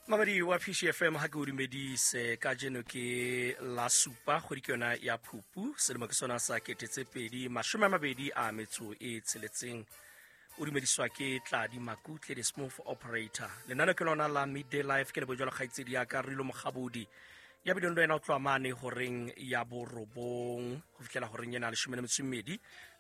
Mamedi wa PCFM, ha ke o dumedise. Kajeno ke la supa, kgwedi ke yona ya Phupu, selemo ke sona sa 2026. O dumediswa ke Tladi Makutle, the smooth operator. Lenane ke lona la Midday Life. Ke lebo jalo kgaitsedi ya ka Rilo Mokgabodi ya bileng le wena o tloa mane horeng ya 9 ho fihlela horeng ena 12,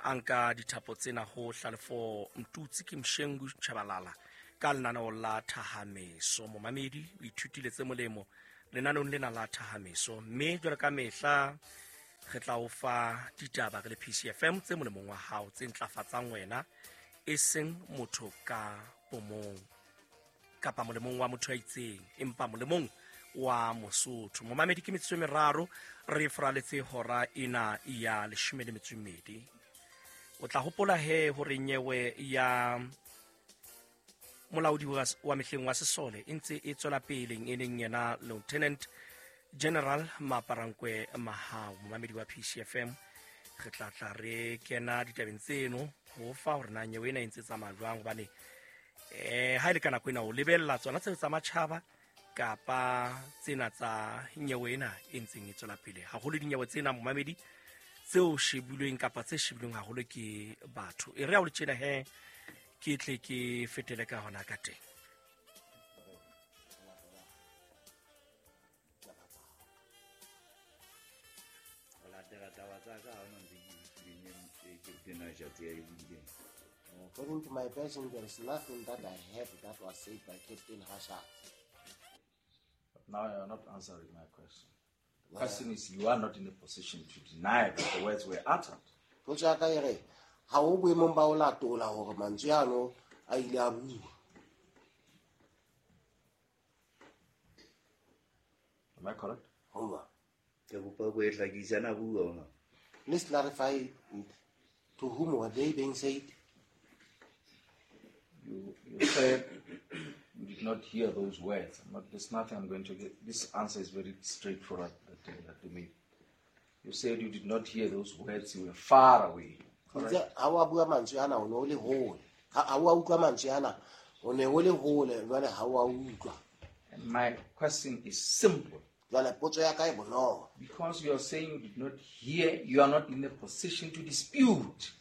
a nka dithapo tsena ho Hlalefo Mtutsi ke Mshengu Chabalala ka lenaneo la Thahameso. Momamedi, o ithutile tse molemo lenaneong lena la Thahameso, mme jwalo ka mehla re tla o fa ditaba re le PCFM tse molemong wa hao, tse ntlafatsang wena, e seng motho ka bomong kapa molemong wa motho ya itseng, empa molemong wa Mosotho. Momamedi, ke metsotso e meraro re foraletse hora ena ya 12. O tla hopola he hore nyewe ya molaodi wa mehleng wa sesole e ntse e tswela pele, e leng yena Lieutenant General Maaparankoe Mahao. Momamedi wa PCFM, re tla tla re kena ditabeng tseno ho fa hore na nyewe ena e ntse tsamaya jwang, hobane ha e le ka nako ena o lebella tsona tseo tsa matjhaba kapa tsena tsa nyewe ena e ntseng e tswela pele haholo. Dinyewe tsena, momamedi, tseo shebilweng kapa tse shebilweng haholo ke batho, e re ha o le tjena he ke tle ke fetele ka hona ka teng. Ho latela taba tsa ka, ha ona ntse ke utlwileng e Captain Hashatsi ya e buileng. According to my version, there is nothing that I heard that was said by Captain Hashatsi. But now you are not answering my question. The question is, you are not in a position to deny that the words were uttered. Potso ya ka e re ha o boemong ba ho latola hore mantswe ano a ile a bua. Am I correct? Hoba. Ke kopa ko e hlakisa, na bua ona. Please clarify it. To whom were they being said? You said you did not hear those words. I'm not, there's nothing I'm going to get. This answer is very straightforward that to me. You said you did not hear those words. You were far away. Correct? Itse ha wa bua mantswe ana, o ne o le hole. Ha wa utlwa mantswe ana, o ne o le hole, jwale ha wa utlwa. And my question is simple. Jwale potso ya ka e bonolo. Because you are saying you did not hear, you are not in a position to dispute.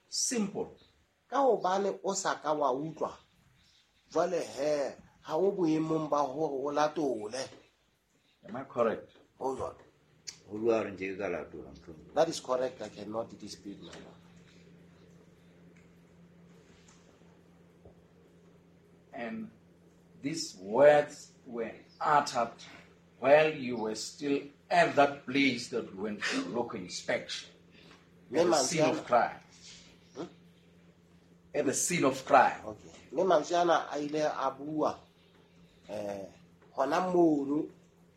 Simple. Ka hobane o sa ka wa utlwa, jwale he ha o boemong ba hore o latole. Am I correct? Ho jwalo. Ho bua hore nke ke ka latola, mohlomong. That is correct. I cannot dispute, my lord. And these words were uttered while you were still at that place that we went for local inspection. At the scene of crime. At the scene of crime. Okay. Mme mantswe ana a ile a bua hona mono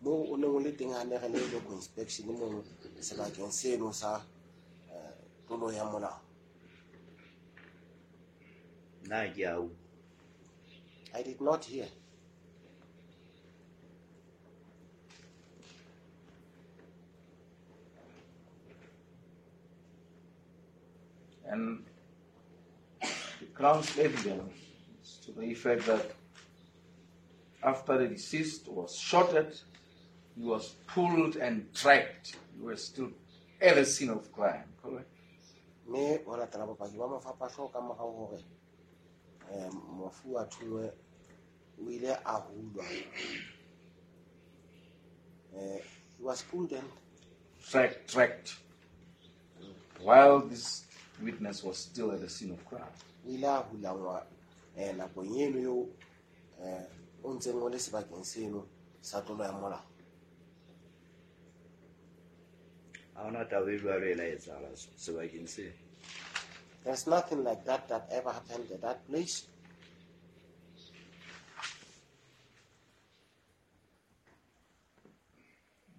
mo o neng o le teng ha ne re le local inspection mono sebakeng seno sa tlolo ya molao. Nna ke a utlwa. I did not hear. And the Crown's evidence is to the effect that after the deceased was shot at, he was pulled and dragged. You were still at the scene of crime, correct? Mme ho latela bopaki ba mofapahlo ka morao hore mofu a thungwe, o ile a hulwa. He was pulled and Dragged. While this witness was still at the scene of crime. O ile a hulangwa nakong eno eo o ntseng o le sebakeng seno sa tlolo ya molao. Ha hona taba e jwalo e la etsahala sebakeng seo. There's nothing like that that ever happened at that place.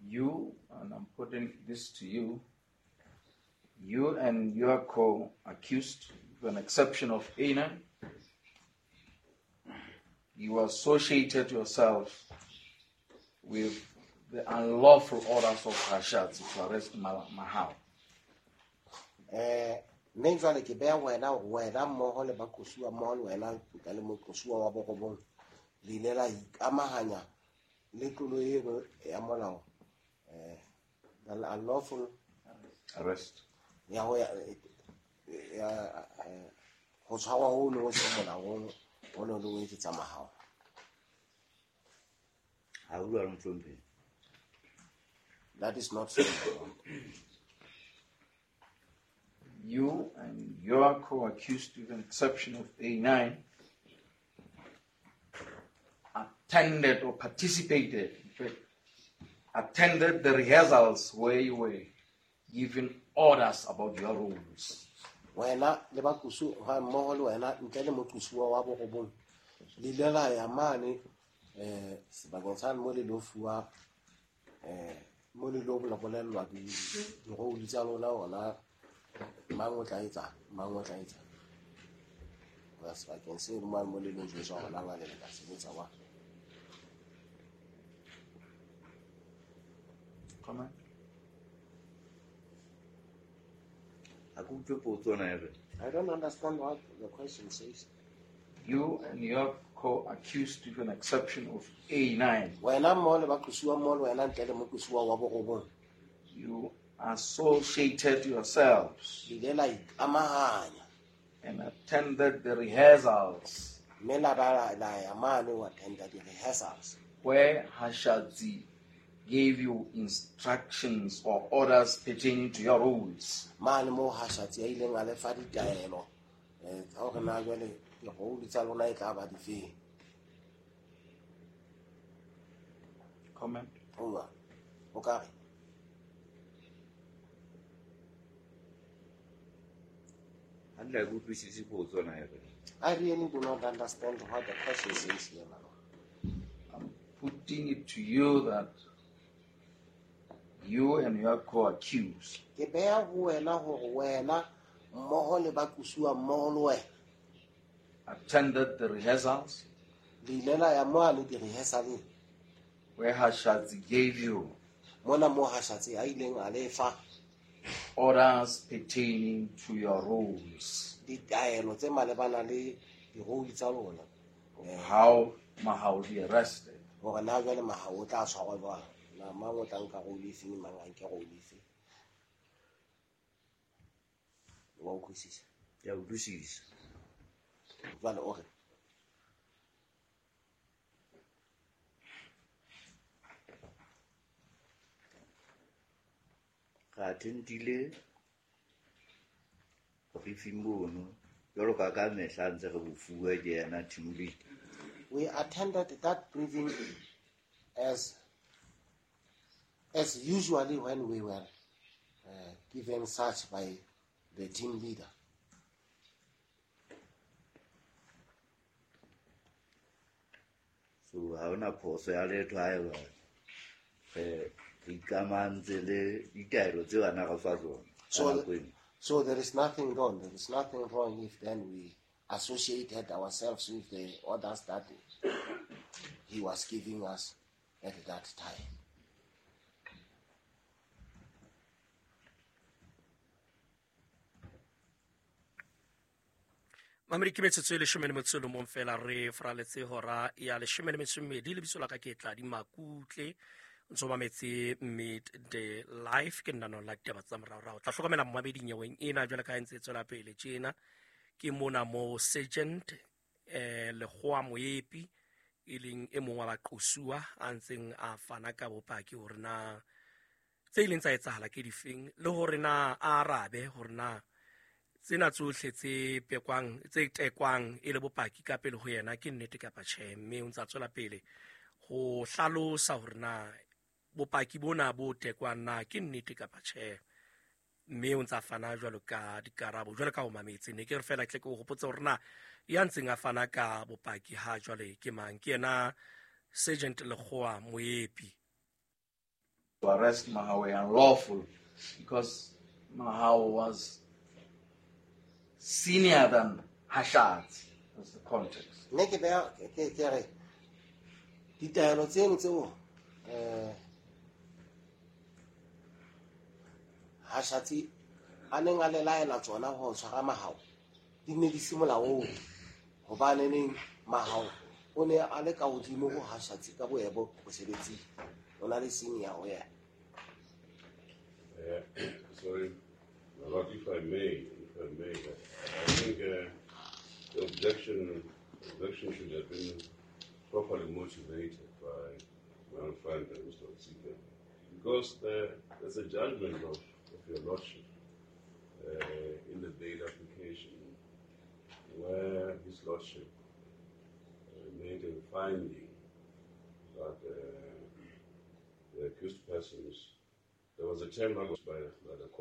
You, and I'm putting this to you, you and your co-accused, with an exception of Ena, you associated yourself with the unlawful orders of Hashatsi to arrest Mahao. Mme jwale ke beha wena hore wena mmoho le baqosuwa mmoho le wena nka le moqosuwa wa borobong, le ile la ikamahanya le tlolo eno ya molao, the unlawful arrest ya ho ya ho tshwarwa ho no se molaong ho no le o etsetsa Mahao. Ha o jwalo, mohlomphehi. That is not so, my lord. You and your co-accused, with an exception of A9, attended or participated, in fact, attended the rehearsals where you were given orders about your roles. Wena le baqusu ha mmoho le wena ntle le moqusuwa wa borobong le ile la ya mane sebakeng sa mo le lo fuwa mo le lo bolellwa di-role tsa lona hona mang o tla etsa mang o tla etsa ho ya sebakeng seno mane mo le lo jwetswa hona ngale le ka sebetsa wa. Comment? Ha ke utlwe potso na e re. I don't understand what the question says. You and your co-accused, with an exception of A9, Wena mmoho le baqusuwa mmoho le wena ntle le moqusuwa wa borobong you associated yourselves le ile la ikamahanya and attended the rehearsals mme la ba la ya mane ho attenda di-rehearsals where Hashatsi gave you instructions or orders pertaining to your roles. Mane moo Hashatsi a ileng a le fa ditaelo tsa hore na jwale di-role tsa lona e tla ba difeng. Comment? Ho o ka re Hantle ha ke utlwisise potso na e re. I really do not understand what the question says here, my lord. I'm putting it to you that you and your co-accused Ke beha ho wena hore wena mmoho le baqusuwa mmoho le wena attended the rehearsals le ile la ya mane di-rehearsaleng where Hashatsi gave you mona moo Hashatsi a ileng a le fa orders pertaining to your roles, ditaelo tse malebana le di-role tsa lona, how Mahao be arrested. Hore na jwale Mahao o tla tshwarwa jwang, na mang o tla nka role efeng, mang a nke role efeng. Wa utlwisisa? Ke a utlwisisa. Jwale o re Re attendile briefing mono jwalo ka ka mehla ntse re bo fuwa ke yena team lead. We attended that briefing as usually when we were given such by the team leader. So ha hona phoso ya letho haeba re ikamantse le ditaelo tseo a na re fa tsona ka nako eno. So there is nothing wrong. There is nothing wrong if then we associated ourselves with the orders that he was giving us at that time. Mamedi ke metsotso e 11 fela re fraletse hora ya 12. Lebitso la ka ke Tladi Makutle, ntso mametse Midday Live ke nna la ditaba tsa moraorao. Tla hlokomela mmamedi nyeweng ena jwale ka ha ntse e tswela pele tjena. Ke mona mo Sergeant Lekgowa Moepi e leng e mong wa baqosuwa a ntseng a fana ka bopaki hore na tse ileng tsa etsahala ke difeng le hore na a arabe hore na tsena tsohle tse pekwang tse tekwang e le bopaki ka pele ho yena ke nnete kapa tjhe, mme o ntsa tswela pele ho hlalosa hore na bopaki bona bo tekwang na ke nnete kapa tjhe, mme o ntsa fana jwalo ka dikarabo jwalo ka ho mametse. Ne ke re fela tle ke o hopotse hore na ya ntseng a fana ka bopaki ha jwale ke mang, ke yena Sergeant Lekgowa Moepi. To arrest Mahao unlawful because Mahao was senior than Hashatsi. That's the context. Mme ke beha ke re ditaelo tseno tseo Hashatsi a neng a le laela tsona ho tshwara Mahao di ne di se molaong, hobaneneng Mahao O ne a le ka hodimo ho Hashatsi ka boemo mosebetsing. O na le senior ho yena. Sorry, my lord, if I may, I think the objection should have been properly motivated by my own friend, Mr. Otsika, because there's a judgment of your lordship in the bail application where his lordship made a finding that the accused persons, there was a term that was by the court.